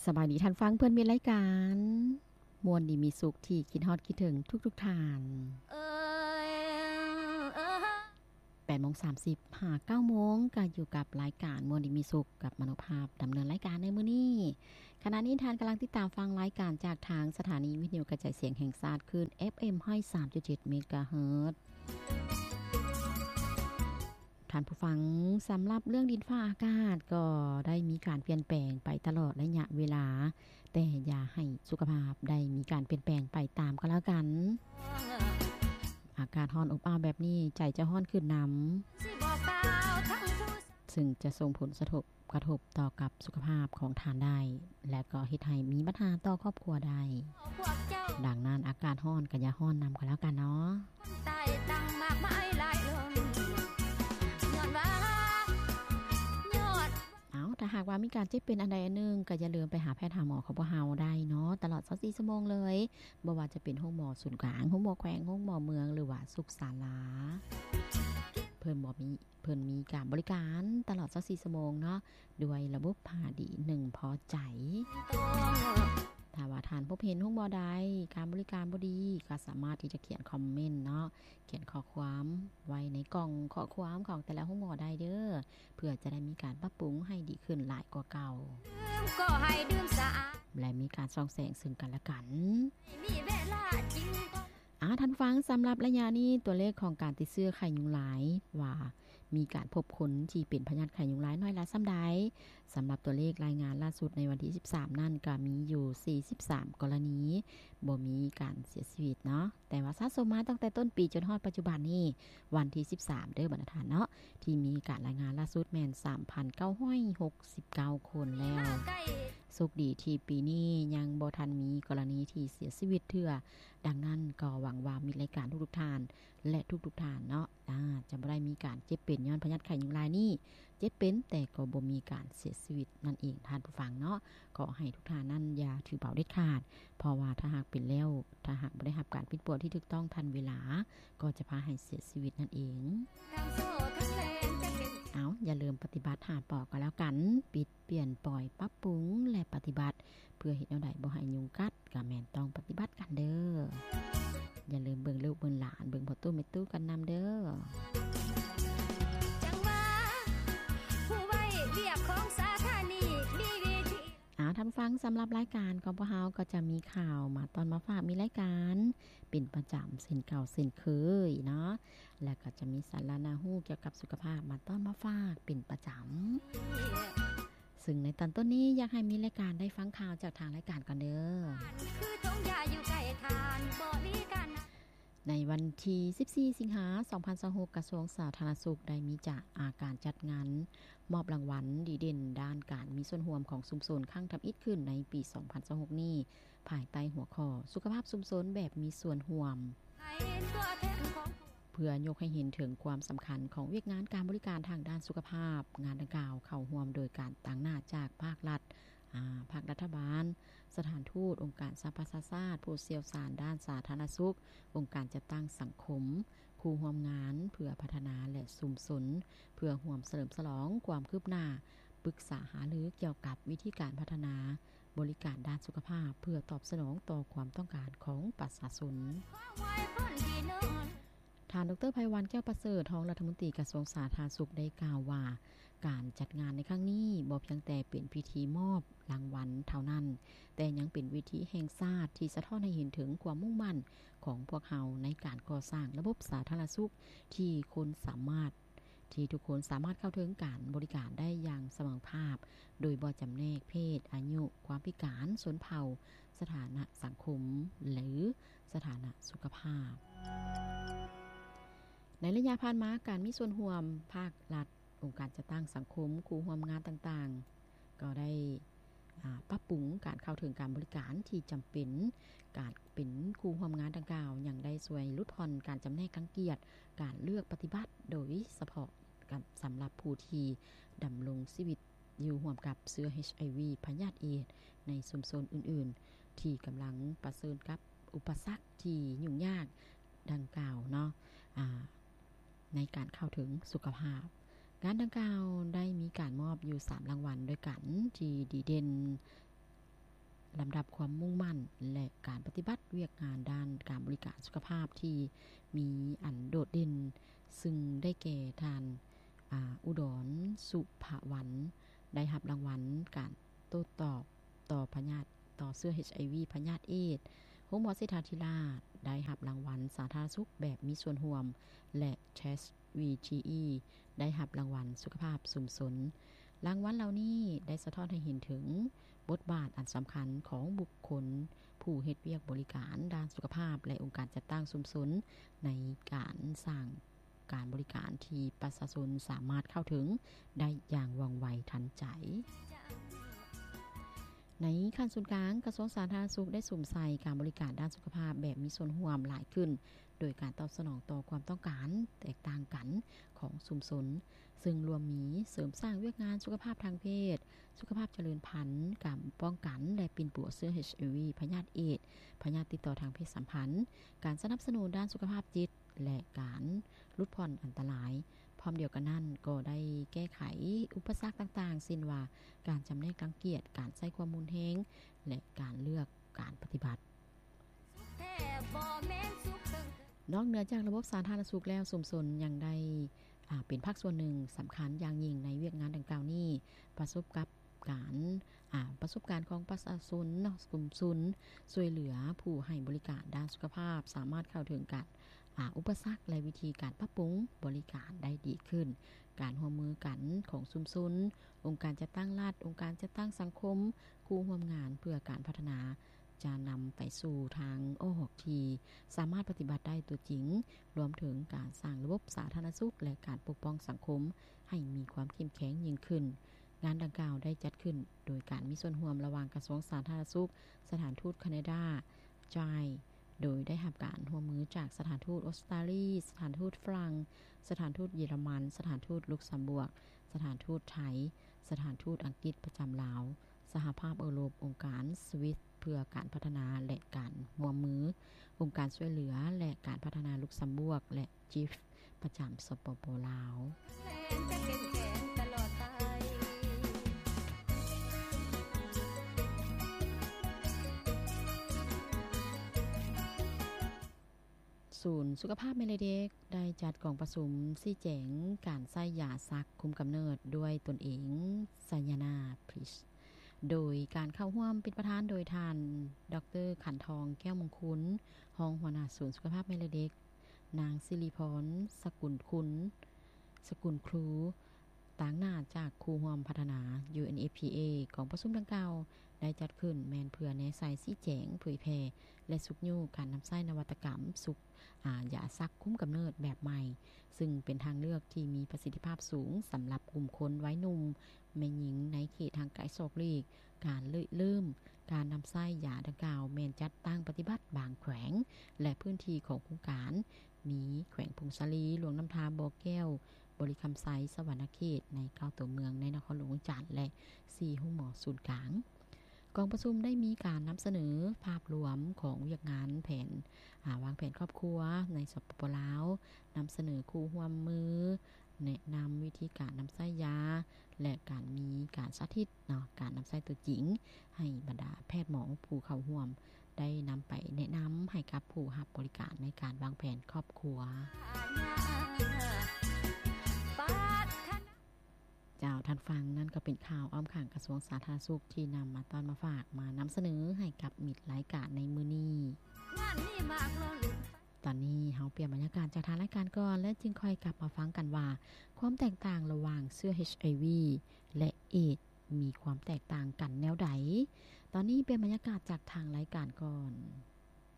ສະບາຍດີທ່ານຟັງເພື່ອນມິດລາຍການ ມ່ວນດີມີສຸກທີ່ຄິດຮອດຄິດເຖິງທຸກໆທ່ານ. ແປດໂມງສາມສິບຫາເກົ້າໂມງ ກໍຢູ່ກັບລາຍການມ່ວນດີມີສຸກ ກັບມະໂນພາບດຳເນີນລາຍການໃນມື້ນີ້. ຂະນະນີ້ທ່ານກຳລັງຕິດຕາມຟັງລາຍການຈາກທາງສະຖານີວິທະຍຸກະຈາຍສຽງແຫ່ງຊາດ ຄື້ນເອັຟເອັມຮ້ອຍສາມຈຸດເຈັດເມກາເຮີດ. ທ່ານຜູ້ຟັງ, ສຳລັບເລື່ອງດິນຟ້າອາກາດກໍໄດ້ມີການປ່ຽນແປງໄປຕະຫຼອດໄລຍະເວລາ, ແຕ່ຢ່າໃຫ້ສຸຂະພາບໄດ້ມີການປ່ຽນແປງໄປຕາມກໍແລ້ວກັນ. ອາກາດຮ້ອນອົບອ້າວແບບນີ້ ໃຈຈະຮ້ອນຂຶ້ນນຳ. ຊຶ່ງຈະສົ່ງຜົນສະທົບ ກະທົບຕໍ່ກັບສຸຂະພາບຂອງທ່ານໄດ້ ແລະ ກໍເຮັດໃຫ້ມີບັນຫາຕໍ່ຄອບຄົວໄດ້. ດັ່ງນັ້ນ ອາກາດຮ້ອນກໍຢ່າຮ້ອນນຳກໍແລ້ວກັນເນາະ. ເອົາ, ຖ້າຫາກວ່າມີການເຈັບເປັນອັນໃດອັນໜຶ່ງ ກໍຢ່າລືມໄປຫາແພດຫາໝໍຂອງພວກເຮົາໄດ້ເນາະ ຕະຫຼອດຊາວສີ່ຊົ່ວໂມງເລີຍ, ບໍ່ວ່າຈະເປັນໂຮງໝໍສູນກາງ, ໂຮງໝໍແຂວງ, ໂຮງໝໍເມືອງ ຫຼືວ່າສຸກສາລາ. ເພິ່ນບໍ່ມີ ເພິ່ນມີການບໍລິການຕະຫຼອດຊາວສີ່ຊົ່ວໂມງເນາະ ດ້ວຍລະບົບຜ້າດີໜຶ່ງພໍໃຈ. ຖ້າວ່າທ່ານພົບເຫັນໂຮງໝໍໃດການບໍລິການບໍ່ດີ ກໍສາມາດທີ່ຈະຂຽນຄອມເມັນເນາະ, ຂຽນຂໍ້ຄວາມໄວ້ໃນກ່ອງຂໍ້ຄວາມຂອງແຕ່ລະໂຮງໝໍໄດ້ເດີ້ ເພື່ອຈະໄດ້ມີການປັບປຸງໃຫ້ດີຂຶ້ນຫຼາຍກວ່າເກົ່າ. ແລະ ມີການສ່ອງແສງເຊິ່ງກັນແລະກັນ. ອາ, ທ່ານຜູ້ຟັງ, ສຳລັບໄລຍະນີ້ ຕົວເລກຂອງການຕິດເຊື້ອໄຂ້ຍຸງລາຍ ວ່າມີການພົບຄົນທີ່ເປັນພະຍາດໄຂ້ຍຸງລາຍນ້ອຍຫຼາຍສ່ຳໃດ. ສຳລັບຕົວເລກລາຍງານລ່າສຸດໃນວັນທີສິບສາມນັ້ນ ກໍມີຢູ່ສີ່ສິບສາມກໍລະນີ, ບໍ່ມີການເສຍຊີວິດເນາະ. ແຕ່ວ່າສະສົມມາຕັ້ງແຕ່ຕົ້ນປີຈົນຮອດປັດຈຸບັນນີ້ ວັນທີສິບສາມເດີ້ ບັນດາທ່ານເນາະ, ທີ່ມີການລາຍງານລ່າສຸດແມ່ນສາມພັນເກົ້າຮ້ອຍຫົກສິບເກົ້າຄົນແລ້ວ. ໂຊກດີທີ່ປີນີ້ຍັງບໍ່ທັນມີກໍລະນີທີ່ເສຍຊີວິດເທື່ອ. ດັ່ງນັ້ນກໍຫວັງວ່າມິດລາຍການທຸກໆທ່ານ ແລະ ທຸກໆທ່ານເນາະ ອາ ຈະບໍ່ໄດ້ມີການເຈັບເປັນຍ້ອນພະຍາດໄຂ້ຍຸງລາຍນີ້, ເຈັບເປັນແຕ່ກໍບໍ່ມີການເສຍຊີວິດນັ້ນເອງ ທ່ານຜູ້ຟັງເນາະ. ຂໍໃຫ້ທຸກທ່ານນັ້ນຢ່າຖືເບົາເດັດຂາດ, ເພາະວ່າຖ້າຫາກເປັນແລ້ວ, ຖ້າຫາກບໍ່ໄດ້ຮັບການປິ່ນປົວທີ່ຖືກຕ້ອງທັນເວລາ, ກໍຈະພາໃຫ້ເສຍຊີວິດນັ້ນເອງ. ເອົາ, ຢ່າລືມປະຕິບັດຫ້າ ປ ກໍແລ້ວກັນ, ປິດ ປ່ຽນ ປ່ອຍ ປັບປຸງ ແລະ ປະຕິບັດ. ເພື່ອເຮັດແນວໃດບໍ່ໃຫ້ຍຸງກັດ ກໍແມ່ນຕ້ອງປະຕິບັດກັນເດີ້. ຢ່າລືມເບິ່ງລູກເບິ່ງຫຼານ, ເບິ່ງພໍ່ຕູ້ແມ່ຕູ້ກັນນຳເດີ້. ເອົາ, ທ່ານຜູ້ຟັງ, ສຳລັບລາຍການຂອງພວກເຮົາກໍຈະມີຂ່າວມາຕ້ອນມາຝາກ, ມີລາຍການເປັນປະຈຳເຊັ່ນເກົ່າເຊັ່ນເຄີຍເນາະ, ແລະ ກໍຈະມີສາລະໜ້າຮູ້ກ່ຽວກັບສຸຂະພາບມາຕ້ອນມາຝາກເປັນປະຈຳ. ຊຶ່ງໃນຕອນຕົ້ນນີ້ ຢາກໃຫ້ມິດລາຍການໄດ້ຟັງຂ່າວຈາກທາງລາຍການກ່ອນເດີ້. ໃນວັນທີສິບສີ່ ສິງຫາ ສອງພັນຊາວຫົກ ກະຊວງສາທາລະນະສຸກໄດ້ມີຈະ ອາ ການຈັດງານມອບລາງວັນດີເດັ່ນດ້ານການມີສ່ວນຮ່ວມຂອງຊຸມຊົນຄັ້ງທຳອິດຂຶ້ນໃນປີສອງພັນຊາວຫົກນີ້ ພາຍໃຕ້ຫົວຂໍ້ ສຸຂະພາບຊຸມຊົນແບບມີສ່ວນຮ່ວມ. ເພື່ອຍົກໃຫ້ເຫັນເຖິງຄວາມສຳຄັນຂອງວຽກງານການບໍລິການທາງດ້ານສຸຂະພາບ, ງານດັ່ງກ່າວເຂົ້າຮ່ວມໂດຍການຕາງໜ້າຈາກພາກລັດ, ອາ, ພາກລັດຖະບານ, ສະຖານທູດ, ອົງການສະຫະປະຊາຊາດ, ຜູ້ຊ່ຽວຊານດ້ານສາທາລະນະສຸກ, ອົງການຈັດຕັ້ງສັງຄົມ, ຄູ່ຮ່ວມງານເພື່ອພັດທະນາ ແລະ ຊຸມຊົນ ເພື່ອຮ່ວມສະເຫຼີມສະຫຼອງຄວາມຄືບໜ້າ, ປຶກສາຫາລືກ່ຽວກັບວິທີການພັດທະນາ ບໍລິການດ້ານສຸຂະພາບ ເພື່ອຕອບສະໜອງຕໍ່ຄວາມຕ້ອງການຂອງປະຊາຊົນ. ທ່ານ ດຣ ໄພວັນ ແກ້ວປະເສີດ ຮອງລັດຖະມົນຕີກະຊວງສາທາລະນະສຸກ ໄດ້ກ່າວວ່າ ການຈັດງານໃນຄັ້ງນີ້ບໍ່ພຽງແຕ່ເປັນພິທີມອບລາງວັນເທົ່ານັ້ນ, ແຕ່ຍັງເປັນເວທີແຫ່ງຊາດທີ່ສະທ້ອນໃຫ້ເຫັນເຖິງຄວາມມຸ່ງໝັ້ນຂອງພວກເຮົາໃນການກໍ່ສ້າງລະບົບສາທາລະນະສຸກທີ່ຄົນສາມາດ ທີ່ທຸກຄົນສາມາດເຂົ້າເຖິງການບໍລິການໄດ້ຢ່າງສະເໝີພາບ ໂດຍບໍ່ຈຳແນກເພດ, ອາຍຸ, ຄວາມພິການ, ຊົນເຜົ່າ, ສະຖານະສັງຄົມ ຫຼື ສະຖານະສຸຂະພາບ. ໃນໄລຍະຜ່ານມາ, ການມີສ່ວນຮ່ວມພາກລັດ, ອົງການຈັດຕັ້ງສັງຄົມ, ຄູ່ຮ່ວມງານຕ່າງໆ ກໍໄດ້ ອາ ປັບປຸງການເຂົ້າເຖິງການບໍລິການທີ່ຈຳເປັນ. ການເປັນຄູ່ຮ່ວມງານດັ່ງກ່າວ ຍັງໄດ້ຊ່ວຍຫຼຸດຜ່ອນການຈຳແນກລັງກຽດ, ການເລືອກປະຕິບັດ ໂດຍສະເພາະກັບ ສຳລັບຜູ້ທີ່ດຳລົງຊີວິດຢູ່ຮ່ວມກັບເຊື້ອ ເອດສ໌ ພະຍາດເອດສ໌ ໃນຊຸມຊົນອື່ນໆ ທີ່ກຳລັງປະເຊີນກັບອຸປະສັກທີ່ຫຍຸ້ງຍາກດັ່ງກ່າວເນາະ ອາ ໃນການເຂົ້າເຖິງສຸຂະພາບ. ງານດັ່ງກ່າວໄດ້ມີການມອບຢູ່ສາມລາງວັນດ້ວຍກັນ ທີ່ດີເດັ່ນ ລຳດັບຄວາມມຸ່ງໝັ້ນ ແລະ ການປະຕິບັດວຽກງານດ້ານການບໍລິການສຸຂະພາບທີ່ມີອັນໂດດເດັ່ນ, ຊຶ່ງໄດ້ແກ່ທ່ານ ອາ ອຸດອນ ສຸພະວັນ ໄດ້ຮັບລາງວັນການໂຕ້ຕອບຕໍ່ພະຍາດ ຕໍ່ເຊື້ອ ເອັດໄອວີ ພະຍາດເອດ. ໂຮງໝໍເສດຖາທິລາດ ໄດ້ຮັບລາງວັນສາທາລະນະສຸກແບບມີສ່ວນຮ່ວມ ແລະ ເທສ ວີທີອີ ໄດ້ຮັບລາງວັນສຸຂະພາບຊຸມຊົນ. ລາງວັນເຫຼົ່ານີ້ໄດ້ສະທ້ອນໃຫ້ເຫັນເຖິງບົດບາດອັນສຳຄັນຂອງບຸກຄົນຜູ້ເຮັດວຽກບໍລິການດ້ານສຸຂະພາບ ແລະ ອົງການຈັດຕັ້ງຊຸມຊົນ ໃນການສ້າງການບໍລິການທີ່ປະຊາຊົນສາມາດເຂົ້າເຖິງໄດ້ຢ່າງວ່ອງໄວທັນໃຈ. ໃນຂັ້ນສູນກາງ, ກະຊວງສາທາລະນະສຸກໄດ້ສຸມໃສ່ການບໍລິການດ້ານສຸຂະພາບແບບມີສ່ວນຮ່ວມຫຼາຍຂຶ້ນ, ໂດຍການຕອບສະໜອງຕໍ່ຄວາມຕ້ອງການແຕກຕ່າງກັນຂອງຊຸມຊົນ, ເຊິ່ງລວມມີເສີມສ້າງວຽກງານສຸຂະພາບທາງເພດ, ສຸຂະພາບຈະເລີນພັນ, ການປ້ອງກັນ ແລະ ປິ່ນປົວເຊື້ອ ເອັດໄອວີ ພະຍາດເອດ, ພະຍາດຕິດຕໍ່ທາງເພດສຳພັນ, ການສະໜັບສະໜູນດ້ານສຸຂະພາບຈິດ ແລະ ການຫຼຸດຜ່ອນອັນຕະລາຍ. ພ້ອມດຽວກັນນັ້ນກໍໄດ້ແກ້ໄຂອຸປະສັກຕ່າງໆ ເຊັ່ນວ່າ ການຈຳແນກລັງກຽດ, ການໃຊ້ຄວາມຮຸນແຮງ ແລະ ການເລືອກການປະຕິບັດ. ນອກເໜືອຈາກລະບົບສາທາລະນະສຸກແລ້ວ, ຊຸມຊົນຍັງໄດ້ ອາ ເປັນພາກສ່ວນໜຶ່ງສຳຄັນຢ່າງຍິ່ງໃນວຽກງານດັ່ງກ່າວນີ້. ປະສົບກັບການ ອາ ປະສົບການຂອງປະຊາຊົນເນາະ, ຊຸມຊົນຊ່ວຍເຫຼືອຜູ້ໃຫ້ບໍລິການດ້ານສຸຂະພາບ ສາມາດເຂົ້າເຖິງການ ອາ ອຸປະສັກ ແລະ ວິທີການປັບປຸງບໍລິການໄດ້ດີຂຶ້ນ. ການຮ່ວມມືກັນຂອງຊຸມຊົນ, ອົງການຈັດຕັ້ງລັດ, ອົງການຈັດຕັ້ງສັງຄົມ, ຄູ່ຮ່ວມງານເພື່ອການພັດທະນາ ຈະນຳໄປສູ່ທາງອອກທີ່ສາມາດປະຕິບັດໄດ້ຕົວຈິງ, ລວມເຖິງການສ້າງລະບົບສາທາລະນະສຸກ ແລະ ການປົກປ້ອງສັງຄົມໃຫ້ມີຄວາມເຂັ້ມແຂງຍິ່ງຂຶ້ນ. ງານດັ່ງກ່າວໄດ້ຈັດຂຶ້ນໂດຍການມີສ່ວນຮ່ວມລະຫວ່າງກະຊວງສາທາລະນະສຸກ, ສະຖານທູດແຄນາດາ, ຈາຍ ໂດຍໄດ້ຮັບການຮ່ວມມືຈາກສະຖານທູດອົດສະຕາລີ, ສະຖານທູດຝຣັ່ງ, ສະຖານທູດເຢຍລະມັນ, ສະຖານທູດລຸກຊຳບວກ, ສະຖານທູດໄທ, ສະຖານທູດອັງກິດປະຈຳລາວ, ສະຫະພາບເອີຣົບ, ອົງການສະວິດເພື່ອການພັດທະນາ ແລະ ການຮ່ວມມື, ອົງການຊ່ວຍເຫຼືອ ແລະ ການພັດທະນາລຸກຊຳບວກ ແລະ ຈິຟ ປະຈຳ ສປປ ລາວ. ສູນສຸຂະພາບແມ່ ແລະ ເດັກ ໄດ້ຈັດກອງປະຊຸມຊີ້ແຈງການໃຊ້ຢາສັກຄຸມກຳເນີດດ້ວຍຕົນເອງ ໄຊຍານາ ພຣີຊ ໂດຍການເຂົ້າຮ່ວມເປັນປະທານໂດຍທ່ານ ດອກເຕີ ຂັນທອງ ແກ້ວມົງຄຸນ ຮອງຫົວໜ້າສູນສຸຂະພາບແມ່ ແລະ ເດັກ, ນາງ ສິລິພອນ ສະກຸນຄຸນ ສະກຸນຄູ ຕາງໜ້າຈາກຄູ່ຮ່ວມພັດທະນາ ຢູເອັນເອັຟພີເອ. ກອງປະຊຸມດັ່ງກ່າວໄດ້ຈັດຂຶ້ນແມ່ນເພື່ອແນໃສ່, ຊີ້ແຈງ, ເຜີຍແຜ່ ແລະ ຊຸກຍູ້ການນຳໃຊ້ນະວັດຕະກຳສຸກ ອາ ຢາສັກຄຸມກຳເນີດແບບໃໝ່, ຊຶ່ງເປັນທາງເລືອກທີ່ມີປະສິດທິພາບສູງສຳລັບກຸ່ມຄົນໄວໜຸ່ມ, ແມ່ຍິງໃນເຂດຫ່າງໄກສອກຫຼີກ. ການລິເລີ່ມການນຳໃຊ້ຢາດັ່ງກ່າວແມ່ນຈັດຕັ້ງປະຕິບັດບາງແຂວງ ແລະ ພື້ນທີ່ຂອງໂຄງການ ມີແຂວງຜົ້ງສາລີ, ຫຼວງນ້ຳທາ, ບໍ່ແກ້ວ, ບໍລິຄຳໄຊ, ສະຫວັນນະເຂດ ໃນເກົ້າຕົວເມືອງໃນນະຄອນຫຼວງວຽງຈັນ ແລະ ສີ່ໂຮງໝໍສູນກາງ. ກອງປະຊຸມໄດ້ມີການນຳສະເໜີພາບລວມຂອງວຽກງານແຜນ ອາ ວາງແຜນຄອບຄົວໃນ ສປປ ລາວ, ນຳສະເໜີຄູ່ຮ່ວມມື, ແນະນຳວິທີການນຳໃຊ້ຢາ ແລະ ການມີການສາທິດເນາະ ການນຳໃຊ້ຕົວຈິງ ໃຫ້ບັນດາແພດໝໍຜູ້ເຂົ້າຮ່ວມ ໄດ້ນຳໄປແນະນຳໃຫ້ກັບຜູ້ຮັບບໍລິການໃນການວາງແຜນຄອບຄົວ. ເຈົ້າ, ທ່ານຟັງນັ້ນກໍເປັນຂ່າວອ້ອມຂ້າງກະຊວງສາທາລະນະສຸກທີ່ນຳມາຕ້ອນມາຝາກ ມານຳສະເໜີໃຫ້ກັບມິດລາຍການໃນມື້ນີ້. ຕອນນີ້ເຮົາປ່ຽນບັນຍາກາດຈາກທາງລາຍການກ່ອນ ແລະ ຈຶ່ງຄ່ອຍກັບມາຟັງກັນວ່າ ຄວາມແຕກຕ່າງລະຫວ່າງເຊື້ອ ເອັດໄອວີ ແລະ ເອດ ມີຄວາມແຕກຕ່າງກັນແນວໃດ? ຕອນນີ້ປ່ຽນບັນຍາກາດຈາກທາງລາຍການກ່ອນ.